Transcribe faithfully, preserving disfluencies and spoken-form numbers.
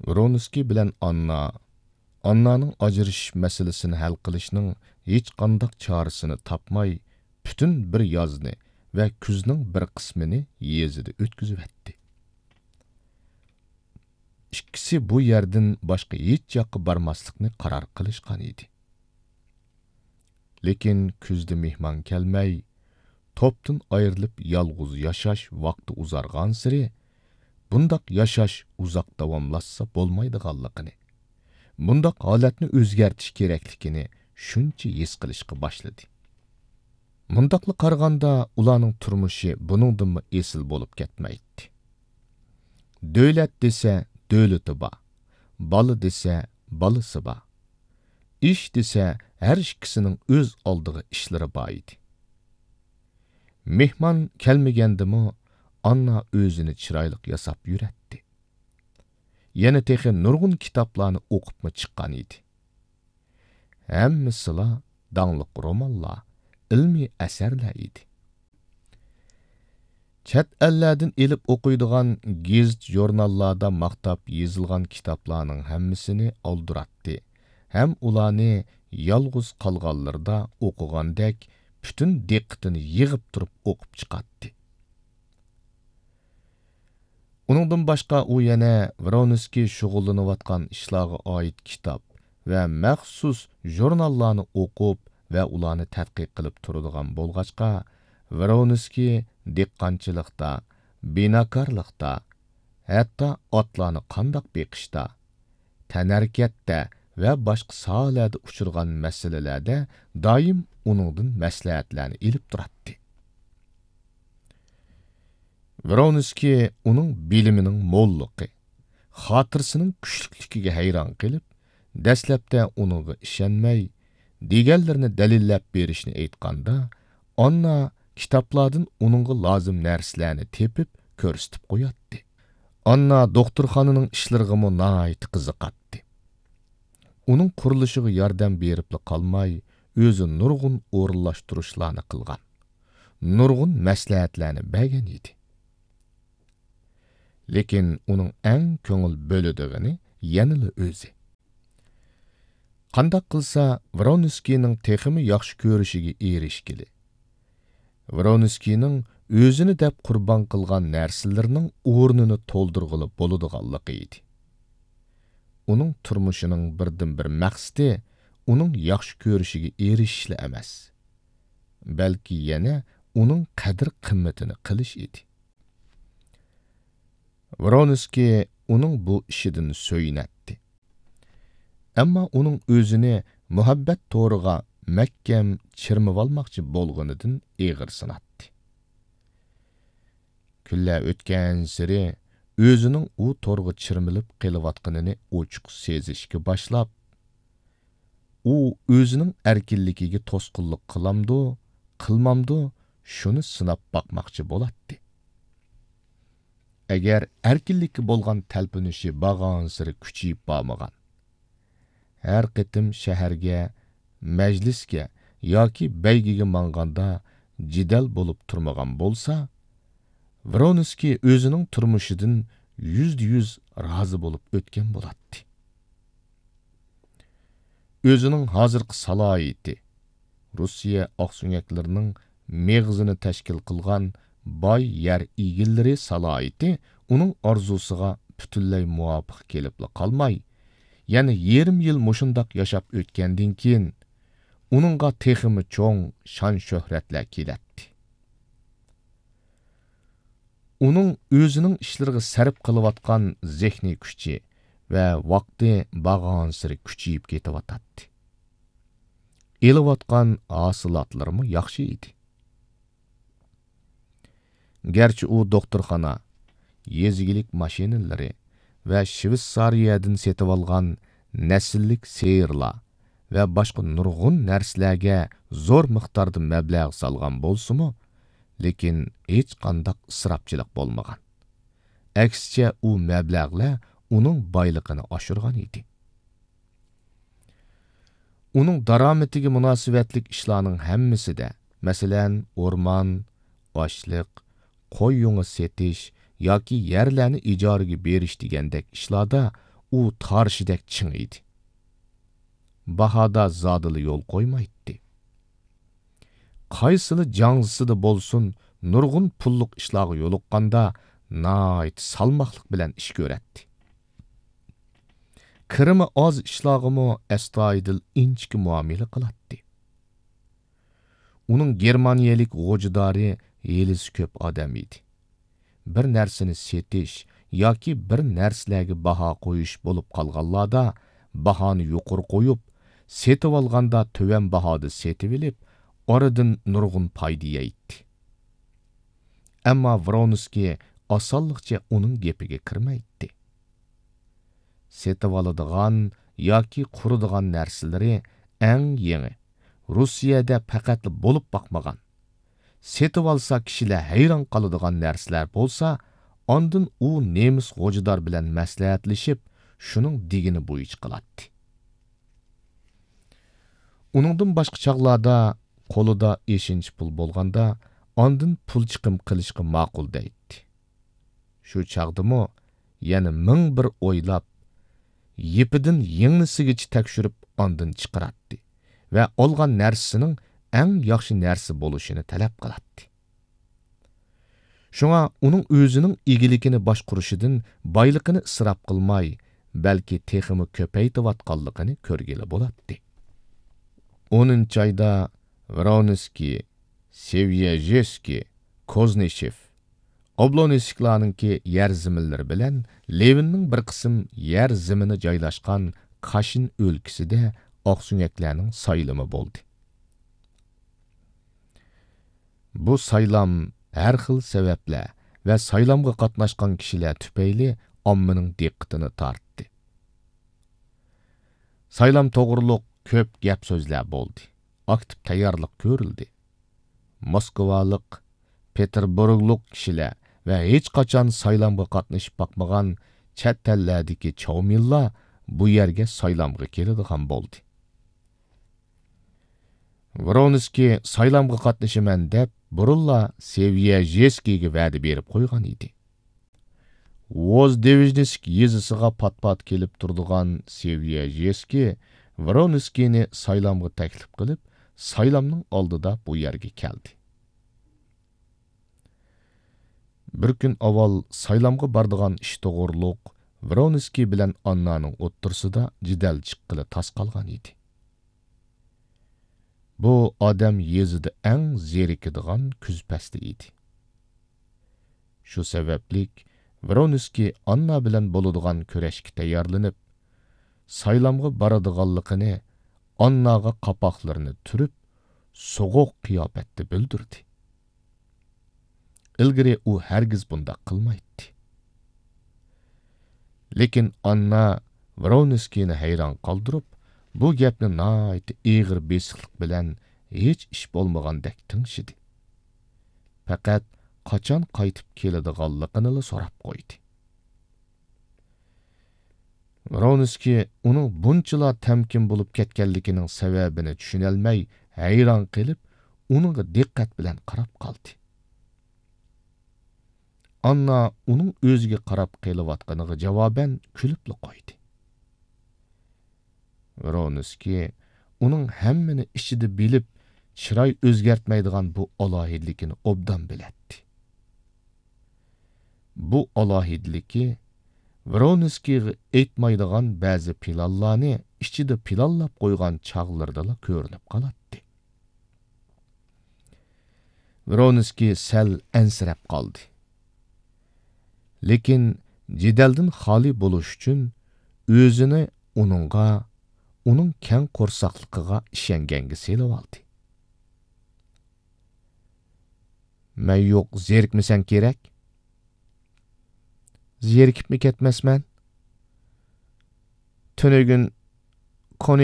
ۋرونسكىي بىلەن ئاننا، ئاننانىڭ ئاجرىشىش مەسىلىسىنى ھەل قىلىشنىڭ ھېچقانداق چارىسىنى تاپماي، پۈتۈن بىر يازنى ۋە كۈزنىڭ بىر قىسمىنى يېزىدا ئۆتكۈزۈۋەتتى. ئىككىسى بۇ يەردىن باشقا ھېچ ياققا بارماسلىقنى قارار قىلىشقان ئىدى. لېكىن كۈزدە مېھمان كەلمەي، توپتىن ئايرىلىپ يالغۇز ياشاش ۋاقتى ئۇزارغانسېرى، بۇنداق ياشاش ئۇزاق داۋاملاشسا بولمايدىغانلىقىنى، بۇنداق ھالەتنى ئۆزگەرتىش كېرەكلىكىنى شۇنچە ھېس قىلىشقا باشلىدى. مۇنداقلا قارىغاندا، ئۇلارنىڭ تۇرمۇشى بۇنىڭدىنمۇ ئېسىل بولۇپ كەتمەيتتى. دۆلەت دېسە، دۆلىتى بار، بالا دېسە، بالىسى بار. ئىش دېسە، ھەر ئىككىسىنىڭ ئۆز ئالدىغا ئىشلىرى بار ئىدى. مېھمان كەلمىگەندىمۇ، ئاننا ئۆزىنى چىرايلىق ياساپ يۈرەتتى. يەنە تېخى نۇرغۇن كىتابلارنى ئوقۇپمۇ چىققان ئىدى. ھەممىسىلا داڭلىق رومانلار، ئىلمىي ئەسەرلەر ئىدى. چەت ئەللەردىن ئېلىپ ئوقۇيدىغان گېزىت-ژۇرناللاردا ماختاپ يېزىلغان كىتابلارنىڭ ھەممىسىنى ئالدۇراتتى ھەم ئۇلارنى يالغۇز قالغانلىرىدا ئوقۇغاندەك پۈتۈن دىققىتىنى يىغىپ تۇرۇپ ئوقۇپ چىقاتتى. ئۇنىڭدىن باشقا ئۇ يەنە ۋرونسكىي شۇغۇللىنىۋاتقان ئىشلارغا ئائىت كىتاب ۋە مەخسۇس ژۇرناللارنى ئوقۇپ ۋە ئۇلارنى تەتقىق قىلىپ تۇرىدىغان بولغاچقا، ۋرونسكىي دېھقانچىلىقتا، بىناكارلىقتا، ھەتتا ئاتلارنى قانداق بېقىشتا، تەنھەرىكەتتە ۋە باشقا ساھەلەردە ئۇچرىغان مەسىلىلەردە دائىم ئۇنىڭدىن مەسلىھەتلەرنى ئېلىپ تۇراتتى. ۋرونسكىي ئۇنىڭ بىلىمىنىڭ موللۇقى، خاتىرىسىنىڭ كۈچلۈكلۈكىگە ھەيران قېلىپ، دەسلەپتە ئۇنىڭغا ئىشەنمەي، دېگەنلىرىنى دەلىللەپ بېرىشنى ئېيتقاندا، ئاننا كىتابلاردىن ئۇنىڭغا لازىم نەرسىلەرنى تېپىپ كۆرسىتىپ قوياتتى. ئاننا دوختۇرخانىنىڭ ئىشلىرىغىمۇ ناھايىتى قىزىقاتتى. ئۇنىڭ قۇرۇلۇشىغا ياردەم بېرىپلا قالماي، ئۆزى نۇرغۇن ئورۇنلاشتۇرۇشلارنى قىلغان، نۇرغۇن مەسلىھەتلەرنى بەرگەن ئىدى. لېكىن ئۇنىڭ ئەڭ كۆڭۈل بۆلىدىغىنى يەنىلا ئۆزى. قانداق قىلسا ۋرونسكىينىڭ تېخىمۇ ياخشى كۆرۈشىگە ئېرىشكىلى؟ ۋرونسكىينىڭ ئۆزىنى دەپ قۇربان قىلغان نەرسىلىرىنىڭ ئورنىنى تولدۇرغىلى بولىدىغانلىقى ئىدى. ئۇنىڭ تۇرمۇشىنىڭ بىردىنبىر مەقسىتى ئۇنىڭ ياخشى كۆرۈشىگە ئېرىشىشلا ئەمەس، بەلكى يەنە ئۇنىڭ قەدىر-قىممىتىنى قىلىش ئىدى. ۋرونسكىي ئۇنىڭ بۇ ئىشىدىن سۆيۈنەتتى. ئەمما ئۇنىڭ ئۆزىنى مۇھەببەت تورىغا مەھكەم چىرمىۋالماقچى بولغىنىدىن ئېغىرسىناتتى. كۈنلەر ئۆتكەنسېرى ئۆزىنىڭ ئۇ تورغا چىرمىلىپ قېلىۋاتقىنىنى ئوچۇق سېزىشكە باشلاپ، ئۇ ئۆزىنىڭ ئەركىنلىكىگە توسقۇنلۇق قىلامدۇ، قىلمامدۇ، شۇنى سىناپ باقماقچى بولاتتى. ئەگەر ئەركىنلىككە بولغان تەلپۈنۈشى بارغانسېرى كۈچىيىپ بارمىغان، ھەر قېتىم شەھەرگە، مەجلىسكە ياكى بەيگىگە ماڭغاندا جېدەل بولۇپ تۇرمىغان بولسا، ۋرونسكىي ئۆزىنىڭ تۇرمۇشىدىن يۈزدە يۈز رازى بولۇپ ئۆتكەن بولاتتى. ئۆزىنىڭ ھازىرقى سالاھىيىتى، روسىيە ئاقسۆڭەكلىرىنىڭ مېغىزىنى تەشكىل قىلغان باي يەر ئىگىلىرى سالاھىيىتى ئۇنىڭ ئارزۇسىغا پۈتۈنلەي مۇۋاپىق كېلىپلا قالماي، يەنە يېرىم يىل مۇشۇنداق ياشاپ ئۆتكەندىن كېيىن، ئۇنىڭغا تېخىمۇ چوڭ شان-شۆھرەتلەر كېلەتتى. ئۇنىڭ ئۆزىنىڭ ئىشلىرىغا سەرپ قىلىۋاتقان زېھنىي كۈچى ۋە ۋاقتى بارغانسېرى كۈچىيىپ كېتىۋاتاتتى. ئېلىۋاتقان ھاسىلاتلىرىمۇ ياخشى ئىدى. گەرچە ئۇ دوختۇرخانا، يېزا ئىگىلىك ماشىنىلىرى ۋە شىۋېتسارىيەدىن سېتىۋالغان نەسىللىك سىيىرلار ۋە باشقا نۇرغۇن نەرسىلەرگە زور مىقداردا مەبلەغ سالغان بولسىمۇ، لېكىن ھېچقانداق ئىسراپچىلىق بولمىغان. ئەكسىچە، ئۇ مەبلەغلەر ئۇنىڭ بايلىقىنى ئاشۇرغان ئىدى. ئۇنىڭ دارامىتىگە مۇناسىۋەتلىك ئىشلارنىڭ ھەممىسىدە، مەسىلەن، ئورمان، ئاشلىق، قوي يۇڭى سېتىش ياكى يەرلەرنى ئىجارىگە بېرىش دېگەندەك ئىشلاردا ئۇ تارىشىدەك چىڭ ئىدى. باھادا زادىلا يول قويمايتتى. قايسىلا جاڭزىسىدا بولسۇن، نۇرغۇن پۇللۇق ئىشلارغا يولۇققاندا ناھايىتى سالماقلىق بىلەن ئىش كۆرەتتى. كىرىمى ئاز ئىشلارغىمۇ ئەستايىدىل، ئىنچىكە مۇئامىلە قىلاتتى. ئۇنىڭ گېرمانىيەلىك غوجىدارى ھىيلىسى كۆپ ئادەم ئىدى. بىر نەرسىنى سېتىش ياكى بىر نەرسىلەرگە باھا قويۇش بولۇپ قالغانلاردا، باھانى يۇقىرى قويۇپ، سېتىۋالغاندا تۆۋەن باھادا سېتىۋېلىپ، ئارىدىن نۇرغۇن پايدا يەيتتى. ئەمما ۋرونسكىي ئاسانلىقچە ئۇنىڭ گېپىگە كىرمەيتتى. سېتىۋالىدىغان ياكى قۇرىدىغان نەرسىلىرى ئەڭ يېڭى، روسىيەدە پەقەتلا بولۇپ باقمىغان، سېتىۋالسا كىشىلەر ھەيران قالىدىغان نەرسىلەر بولسا، ئاندىن ئۇ نېمىس غوجىدار بىلەن مەسلىھەتلىشىپ، شۇنىڭ دېگىنى بويىچە قىلاتتى. ئۇنىڭدىن باشقا چاغلاردا قولىدا ئېشىنچە پۇل بولغاندا، ئاندىن پۇل چىقىم قىلىشقا ماقۇل دەيتتى. شۇ چاغدىمۇ يەنە مىڭ بىر ئويلاپ، يىپىدىن يىڭنىسىگىچە تەكشۈرۈپ ئاندىن چىقىراتتى ۋە ئالغان نەرسىسىنىڭ ئەڭ ياخشى نەرسە بولۇشىنى تەلەپ قىلاتتى. شۇڭا ئۇنىڭ ئۆزىنىڭ ئىگىلىكىنى باشقۇرۇشىدىن بايلىقىنى ئىسراپ قىلماي، بەلكى تېخىمۇ كۆپەيتىۋاتقانلىقىنى كۆرگىلى بولاتتى. ئونىنچى ئايدا ۋرونسكىي، سېۋيەژېسكىي، كوزنىشېف، ئوبلونسكلارنىڭكى يەر زېمىنلىرى بىلەن لېۋىننىڭ بىر قىسىم يەر زېمىنى جايلاشقان كاشىن ئۆلكىسىدە ئاقسۆڭەكلەرنىڭ سايلىمى بولدى. بۇ سايلام ھەر خىل سەۋەبلەر ۋە سايلامغا قاتناشقان كىشىلەر تۈپەيلى ئاممىنىڭ دىققىتىنى تارتتى. سايلام توغرۇلۇق كۆپ گەپ سۆزلەر بولدى. ئاكتىپ تەييارلىق كۆرۈلدى. موسكۋالىق، پېتېربۇرگلۇق كىشىلەر ۋە ھېچقاچان سايلامغا قاتنىشىپ باقمىغان چەت ئەللەردىكى چاۋمىنلار بۇ يەرگە سايلامغا كېلىدىغان بولدى. ۋرونسكىي سايلامغا قاتنىشىمەن دەپ، بۇرۇنلا سېۋيەژېسكىيگە ۋەدە بېرىپ قويغان ئىدى. ۋوزدېۋژنىسك يېزىسىغا پات-پات كېلىپ تۇرىدىغان سېۋيەژېسكىي ۋرونسكىينى سايلامغا تەكلىپ قىلىپ، سايلامنىڭ ئالدىدا بۇ يەرگە كەلدى. بىر كۈن ئاۋۋال سايلامغا بارىدىغان ئىش توغرۇلۇق ۋرونسكىي بىلەن ئاننانىڭ ئوتتۇرىسىدا جېدەل چىققىلى تاس قالغان ئىدى. بۇ ئادەم يېزىدا ئەڭ زېرىكىدىغان كۈز پەسلى ئىدى. شۇ سەۋەبلىك ۋرونسكىي ئاننا بىلەن بولىدىغان كۈرەشكە تەييارلىنىپ، سايلامغا بارىدىغانلىقىنى ئانناغا قاپاقلىرىنى تۈرۈپ، سوغۇق قىياپەتتە بىلدۈردى. ئىلگىرى ئۇ ھەرگىز بۇنداق قىلمايتتى. لېكىن ئاننا ۋرونسكىينى ھەيران قالدۇرۇپ، بۇ گەپنى ناھايىتى ئېغىر بېسىقلىق بىلەن ھېچ ئىش بولمىغاندەك تىڭشىدى. پەقەت قاچان قايتىپ كېلىدىغانلىقىنىلا سوراپ قويدى. ۋرونسكىي ئۇنىڭ بۇنچىلا تەمكىن بولۇپ كەتكەنلىكىنىڭ سەۋەبىنى چۈشىنەلمەي، ھەيران قېلىپ، ئۇنىڭغا دىققەت بىلەن قاراپ قالدى. ئاننا ئۇنىڭ ئۆزىگە قاراپ قېلىۋاتقىنىغا جاۋابەن كۈلۈپلا قويدى. ۋرونسكىي ئۇنىڭ ھەممىنى ئىچىدە بىلىپ، چىراي ئۆزگەرتمەيدىغان بۇ ئالاھىدىلىكىنى ئوبدان بىلەتتى. بۇ ئالاھىدىلىكى ۋرونسكىيغا ئېيتمايدىغان بەزى پىلانلارنى ئىچىدە پىلانلاپ قويغان چاغلىرىدىلا كۆرۈنۈپ قالاتتى. ۋرونسكىي سەل ئەنسىرەپ قالدى. لېكىن جېدەلدىن خالىي بولۇش ئۈچۈن ئۆزىنى ئۇنىڭغا، ئۇنىڭ كەڭ قورساقلىقىغا ئىشەنگەنگە سېلىۋالدى. مەن يوق، زېرىكمىسەڭ كېرەك. زېرىكىپمۇ كەتمەسمەن. تۈنۈگۈن